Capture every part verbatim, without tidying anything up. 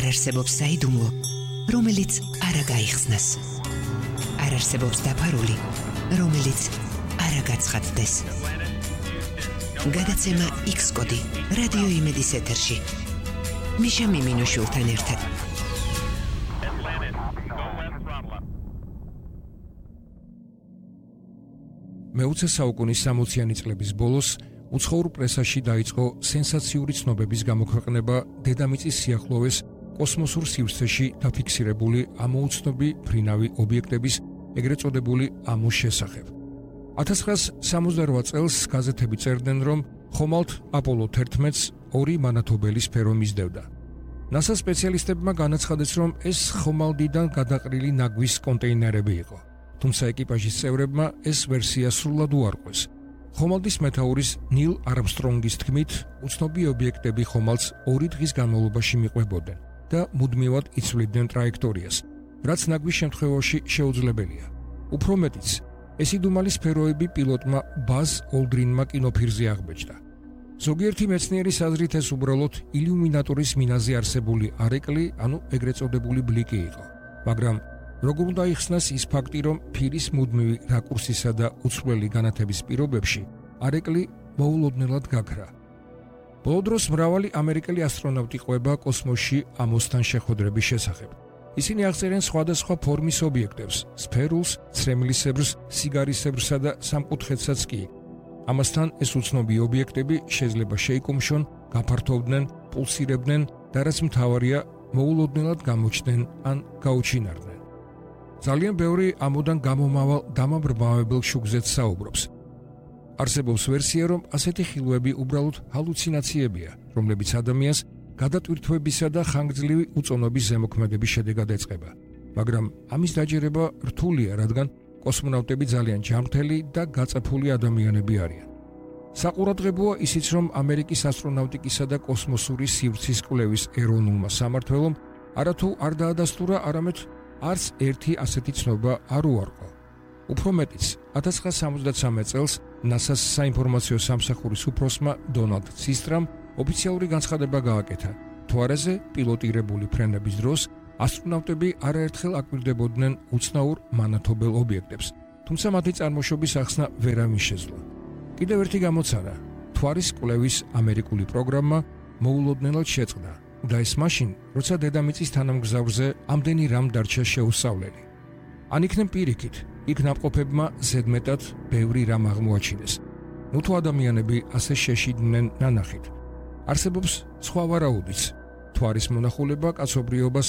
არ არსებობს საიდუმლო, რომელიც არ გაიხსნას. არ არსებობს დაფარული, რომელიც არ გაცხადდეს. გადაცემა X კოდი რადიო იმედის ეთერში. მიშა მიმინოშვილთან ერთად. მეოცე საუკუნის სამოციანი წლების ბოლოს უცხოურ პრესაში დაიწყო სენსაციური ცნობების გამოქვეყნება დედამიწის სიახლოვეს კოსმოსურ სივრცეში დაფიქსირებული ამოუცნობი ფრინავი ობიექტების, ეგრეთ წოდებული ამოს შესახებ. ათას ცხრაასი სამოცდარვა წელს გაზეთები წერდნენ, რომ ხომალდ აპოლო თერთმეტს ორი მანათობელი სფერო მისდევდა. ნასას სპეციალისტებმა განაცხადეს, რომ ეს ხომალდიდან გადაყრილი ნაგვის კონტეინერები იყო. თუმცა ეკიპაჟის წევრებმა ეს ვერსია სრულად უარყვეს. ხომალდის მეთაურის ნილ არმსტრონგის თქმით, უცნობი ობიექტები ხომალდს ორი დღის განმავლობაში მიყვებოდნენ და მუდმივად იცვლიდნენ ტრაექტორიას, რაც ნაგვის შემთხვევაში შეუძლებელია. უფრო მეტიც, ეს იდუმალი სფეროები პილოტმა ბაზ ოლდრინმა კინოფირზე აღბეჭდა. ზოგიერთი მეცნიერის აზრით ეს უბრალოდ ილიუმინატორის მინაზე არსებული არეკლი, ანუ ეგრეთ წოდებული ბლიკი იყო. მაგრამ როგორ უნდა იხსნას ის ფაქტი, რომ ფირის მუდმივი რაკურსისა და უცვლელი განათების პირობებში არეკლი მოულოდნელად გაქრა. ბოლო დროს მრავალი ამერიკელი ასტრონავტი ყვება კოსმოსში ამოსთან შეხვედრების შესახებ. ისინი აღწერენ სხვადასხვა ფორმის ობიექტებს, სფერულს, ცრემლისებრს, სიგარისებრსა და სამკუთხედსაც კი. ამასთან ეს უცნობი ობიექტები შეიძლება შეიკუმშონ, გაფართოვდნენ, პულსირებდნენ და რაც მთავარია, მოულოდნელად გამოჩნდნენ ან გაუჩინარდნენ. ძალიან ბევრი ამოდან გამომავალ დამაბრმავებელ შუქზეც საუბრობს. არსებობს ვერსია, რომ ასეთი ხილვები უბრალოდ ჰალუცინაციებია, რომლებიც ადამიანს გადატვირთვებისა და ხანგრძლივი უწონობის ზემოქმედების შედეგად ეწყება. მაგრამ ამის დაჯერება რთულია, რადგან კოსმონავტები ძალიან ჯანმრთელი და გაწაფული ადამიანები არიან. საყურადღებოა ისიც, რომ ამერიკის ასტრონავტიკისა და კოსმოსური სივრცის კვლევის ეროვნულმა სამმართველომ არათუ არ დაადასტურა, არამედ არც ერთი ასეთი ცნობა არ უარყო. უფრო მეტიც, ათას ცხრაასი სამოცდათსამეტ წელს ნასას საინფორმაციო სამსახურის უფროსმა დონალდ ცისტრამ ოფიციალური განცხადება გააკეთა. თვარეზე პილოტირებული ფრენების დროს ასტრონავტები არაერთხელ აკვირდებოდნენ უცნაურ მანათობელ ობიექტებს, თუმცა მათი წარმოშობის ახსნა ვერავინ შეძლო. კიდევ ერთი გამოცანა, თვარის კვლევის ამერიკული პროგრამა მოულოდნელად შეწყდა და ეს მაშინ, როცა დედამიწის თანამგზავრზე ამდენი რამ დარჩა შეუსწავლელი. ან იქნებ პირიქით, იქ ნამყოფებმა ზედმეტად ბევრი რამ აღმოაჩინეს. ნუ თუ ადამიანები ასე შეშიდნენ ნანახით. არსებობს სხვა ვარაუდიც, თვარის მონახულება კაცობრიობას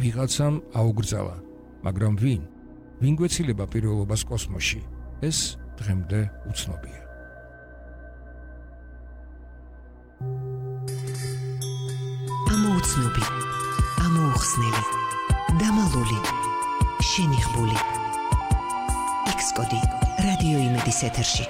ვიღაცამ აუგრძალა, მაგრამ ვინ? ვინ გვეცილება პირველობას კოსმოსში? ეს დღემდე უცნობია. ამოუცნობი, ამოუხსნელი, დამალული, შენიღბული. X კოდი რადიო იმედის ეთერში.